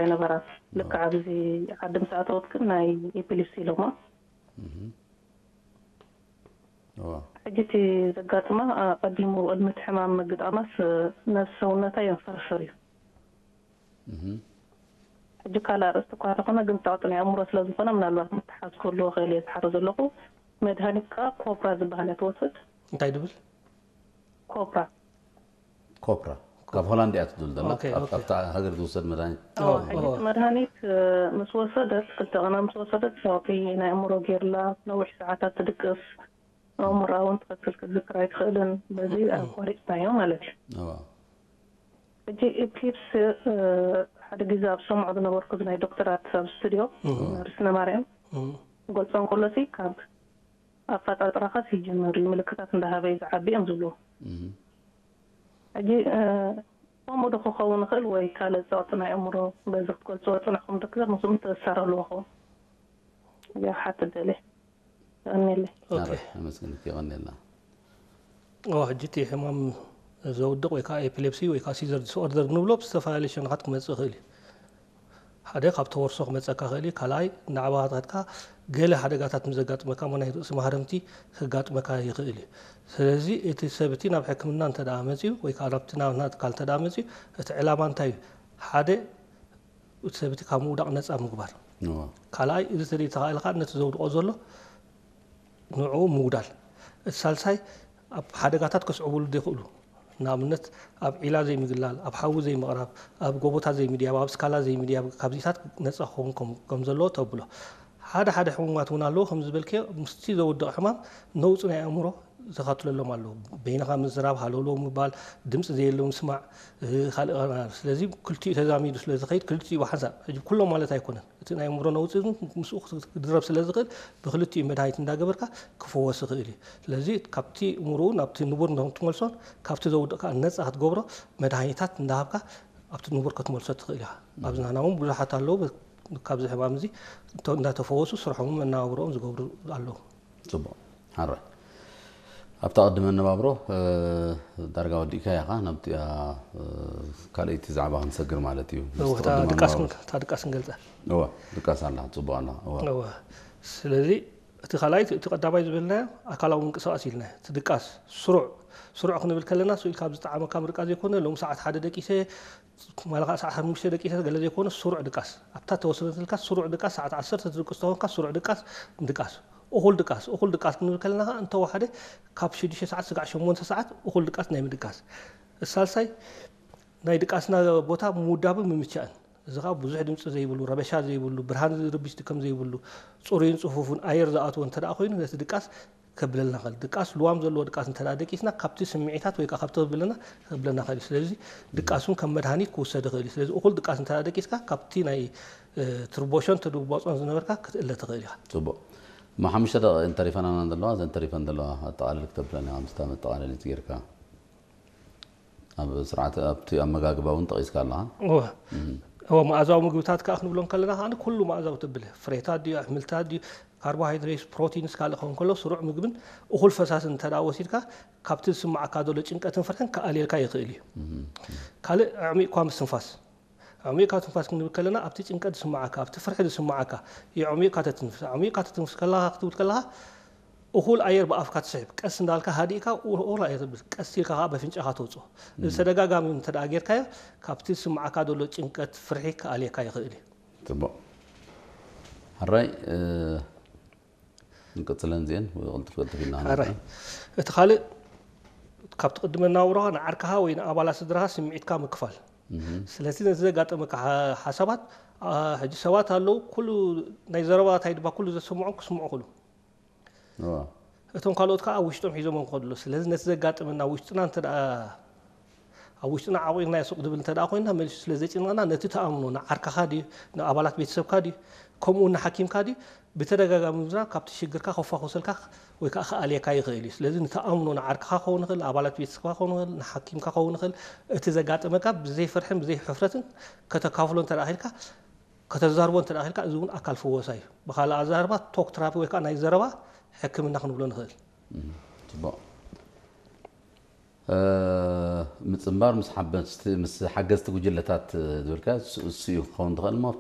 ኣይነበራን። ልክዕ ኣብዚ ዓዲ ምስ ኣተወት ግን ናይ ኤፒሊፕሲ ኢሎማ። ሕጂ እቲ ዘጋጥማ ኣቐዲሙ ቅድሚ እቲ ሕማም ምግጣማስ ነብሲ ሰውነታ የንፈርፍር እዩ። ሕጂ ካልእ ኣርእስቲ እኳ ተኾነ ግን ጸቕጢ ናይ ኣእምሮ ስለ ዝኾነ ምናልባት ምትሓዝ ክህልዎ ክእል እየ ዝሓሮ ዘለኹ። መድሃኒት ከኣ ኮብራ ዝበሃል እያ ትወስድ። እንታይ ድብል? ኮብራ። ኮፕራ ካብ ሆላንድ እያ ትብል ዘላ። ኣብታ ሃገር ዝውሰድ መድሃኒት። ሕጂ እቲ መድሃኒት ምስ ወሰደት፣ ክልተ ቀና ምስ ወሰደት፣ ጸቕጢ ናይ ኣእምሮ ጌርላ፣ ነዊሕ ሰዓታት ትድቅስ፣ ኣእምሮኣ እውን ትኽክል ክትዝክር ኣይትኽእልን። በዚ ኣቋሪፅናዮ ማለት እዩ። ሕጂ ኤፕሊፕስ ሓደ ግዜ ኣብ ሰምዖ ዝነበርኩ ናይ ዶክተራት ኣብ ስቱዲዮ ነርስ ነማርያም ገልፆ እንከሎሲ ካብ ኣፈጣጥራኻስ ይጅምር እዩ፣ ምልክታት እንዳሃበ እዩ ዝዓቢ እዮም ዝብሉ። ሕጂ ከምኡ ዶ ክኸውን ይኽእል ወይ ካልእ ጸቕጢ ናይ ኣእምሮ በዚ ክትገልጽዎ ጽንሕኩም ዶ ክዘር ምስኡ ምትእስሳር ኣለዎ ክኸውን? እዚኣ ክሓትት ደልየ። የቐንየለይ። ኣመስግንኪ። የቐንየልና። እዋ ሕጂ እቲ ሕማም ዘውድቕ ወይ ከዓ ኤፒሌፕሲ ወይ ከዓ ሲዘር ዲስኦርደር ንብሎ ብዝተፈላለዩ ሸነኻት ክመፅእ ይኽእል እዩ። ሓደ ካብ ተወርሶ ክመፀካ ይኽእል እዩ። ካልኣይ ንዓባታትካ ገለ ሓደጋታት ምስ ዘጋጥመካ እሞ ናይ ርእሲ ማህረምቲ ከጋጥመካ ይኽእል እዩ። ስለዚ እቲ ሰብ እቲ ናብ ሕክምና እንተ ደኣ መፅዩ ወይ ከዓ ናብቲ ናትና ትካል እንተ ደኣ መፅዩ እቲ ዕላማ እንታይ እዩ? ሓደ እቲ ሰብ እቲ ካብ ምውዳቕ ነፃ ምግባር። ካልኣይ እዚ ተደይተኻእለ ከዓ ነቲ ዘውድቖ ዘሎ ንዕኡ ምውዳል። እቲ ሳልሳይ ኣብ ሓደጋታት ከስዕቡሉ ዘይኽእሉ ንኣብነት ኣብ ዒላ ዘይምግላል፣ ኣብ ሓዊ ዘይምቕራብ፣ ኣብ ጎቦታት ዘይምድያብ፣ ኣብ ስካላ ዘይምድያብ ካብዚታት ነፃ ክኸውን ከም ዘለዎ ተብሎ። ሓደ ሓደ ሕሙማት እውን ኣለዉ ከም ዝበልክዮ ምስቲ ዘውድቕ ሕማም ነውፂ ናይ ኣእምሮ ዘኻትለሎም ኣለዉ። በይንኻ ምዝራብ፣ ሃለውለው ምባል፣ ድምፂ ዘየለ ምስማዕ፣ ካልእ ስለዚ ክልቲኡ ተዛሚዱ ስለ ዝኸይድ ክልቲኡ ብሓንሳብ ሕጂ ኩሎም ማለት ኣይኮነን። እቲ ናይ ኣእምሮ ነውፂ ምስኡ ክድረብ ስለ ዝኽእል ብክልቲኡ መድሃኒት እንዳገበርካ ክፍወስ ይኽእል እዩ። ስለዚ ካብቲ እምርኡ ናብቲ ንቡር ትመልሶን ካብቲ ዘውድቕ ከዓ ነፃ ክትገብሮ መድሃኒታት እንዳሃብካ ኣብቲ ንቡር ክትመልሶ ትኽእል ኢኻ። ኣብዚ ናህና እውን ብዙሓት ኣለዉ ካብዚ ሕማም እዚ እንዳተፈወሱ ስርሖምን መነባብሮኦም ዝገብሩ ኣለዉ። ፅቡቕ። ሓራይ ኣብታ ቅዲ መነባብሮ ዳርጋ ወዲእካ ኢኻ ናብቲኣ ካልኣይቲ ዛዕባ ክንሰግር ማለት እዩ። ድቃስ ንገልፀ እዋ ድቃስ ኣላ ፅቡቅ ኣላ እዋ ስለዚ እቲ ካልኣይ እቲ ቀዳማይ ዝበልናዮ ኣካላዊ ምንቅስቃስ ኢልና እቲ ድቃስ ስሩዕ ስሩዕ ክንብል ከለና ስኢል ካብ ዝጠዓመካ ምርቃ ዘይኮነ ሎም ሰዓት ሓደ ደቂሰ ማለካ ሰዓት ሓሙሽተ ደቂሰ ገለ ዘይኮነ ስሩዕ ድቃስ ኣብታ ተወሰነትልካ ስሩዕ ድቃስ ሰዓት ዓሰርተ ትድቅስ ተኾንካ ስሩዕ ድቃስ ድቃስ እኹል ድቃስ እኹል ድቃስ ክንብል ከለና ከዓ እንተወሓደ ካብ ሽዱሽተ ሰዓት ስጋዕ ሸሞንተ ሰዓት እኹል ድቃስ ናይ ምድቃስ ሳልሳይ ናይ ድቃስና ቦታ ምውዳብን ምምቻእን እዚ ከዓ ብዙሕ ድምፂ ዘይብሉ ረበሻ ዘይብሉ ብርሃን ዝርብሽ ከም ዘይብሉ ፅሩይን ፅፉፉን ኣየር ዝኣትዎ እንተ ኮይኑ ነቲ ድቃስ ከብለልና ኽእል ድቃስ ልዋም ዘለዎ ድቃስ እንተ ደቂስና ካብቲ ስምዒታት ወይ ከዓ ካብቲ ከብለና ከብለና ኽእል እዩ ስለዚ ድቃስ እውን ከም መድሃኒት ክውሰድ ይኽእል እዩ ስለዚ እኹል ድቃስ እንተ ደቂስካ ካብቲ ናይ ትርቦሾን ተድቦፆን ዝነበርካ ክትእለ ትኽእል ኢኻ ፅቡቅ እሞ ሓሙሽተ ደቂ እንተሪፈናና ዘለዋ ዘን ተሪፈን ዘለዋ ኣጠቃልል ክተብለና ኢኻ ምስታ መጠቃለሊት ጌርካ ኣብ ስርዓት ኣብቲ ኣመጋግባ እውን ጠቂስካ ኣለኻ እወ መኣዛዊ ምግብታት ከዓ ክንብሎም ከለና ከዓ ኩሉ መኣዛዊ ትብል ፍሬታት ድዩ ኣሕምልታት ድዩ ካርቦሃይድሬት ፕሮቲንስ ካልእ ክኸውን ከሎ ስሩዕ ምግብን እኹል ፈሳስን እንተ ወሲድካ ካብቲ ዝስማዓካ ዘሎ ጭንቀትን ፍርሕን ክኣልየልካ ይኽእል እዩ ካልእ ኣዕሚቕኳ ምስትንፋስ ኣዕሚቕካ ትንፋስ ክንብል ከለና ኣብቲ ጭንቀት ዝስማዓካ ኣብቲ ፍርሒ ዝስማዓካ የዕሚቕካ ተትንፍስ ኣዕሚቕካ ተትንፍስ ከለካ ክትብል ከለካ እኹል ኣየር ብኣፍካ ትስሕብ ቀስ እንዳልካ ሃዲእካ እኹል ኣየር ትብል ቀስ ኢልካ ከዓ በፍንጫኻ ተውፅኦ እዚ ተደጋጋሚ እንተ ጌርካዮ ካብቲ ዝስማዓካ ዘሎ ጭንቀት ፍርሒ ክኣልየካ ይኽእል እዩ ፅቡቅ ሕራይ ንቅፅለን ዚአን ቅልጥፍ ቅልጥፍ ኢልና ሕራይ እቲ ካልእ ካብቲ ቅድመ ናውራኻ ንዓርካኻ ወይ ንኣባላት ስድራኻ ስምዒትካ ምክፋል ስለዚ ነዚ ዘጋጠመካ ሓሳባት ሕጂ ሰባት ኣለዉ ኩሉ ናይ ዘረባ እንታይ ድማ ኩሉ ዘሰምዖም ክስምዑ ክሉ እቶም ካልኦት ከዓ ኣብ ውሽጦም ሒዞም ክኸዱ ኣለዉ ስለዚ ነቲ ዘጋጠመና ውሽጥና እንተ ኣብ ውሽጥና ዓቂርና ሱቅ ድብል እንተ ኮይና መሊሱ ስለ ዘጭንቀና ነቲ ተኣምኖ ንዓርካኻ ድዩ ንኣባላት ቤተሰብካ ድዩ ከምኡ ንሓኪምካ ድዩ ብተደጋጋሚ ምዝራብ ካብቲ ሽግርካ ከፋኹሰልካ ወይ ከዓ ክኣልየካ ይኽእል እዩ ስለዚ ንተኣምኖ ንዓርክኻ ክኸውን ይኽእል ንኣባላት ቤተሰብካ ክኸውን ይኽእል ንሓኪምካ ክኸውን ይኽእል እቲ ዘጋጠመካ ብዘይ ፍርሕን ብዘይ ሕፍረትን ከተካፍሎ እንተ ኢልካ ከተዛርቦ እንተ ኢልካ እዚ እውን ኣካል ፍወሳ እዩ ብካልእ ኣዛርባ ቶክ ትራፒ ወይ ከዓ ናይ ዘረባ ሕክምና ክንብሎ ንኽእል ፅቡቅ ምፅምባር ምስ ሓገዝቲ ጉጅለታት ዝበልካ እሱ እዩ ክኸውን ዝኽእል እሞ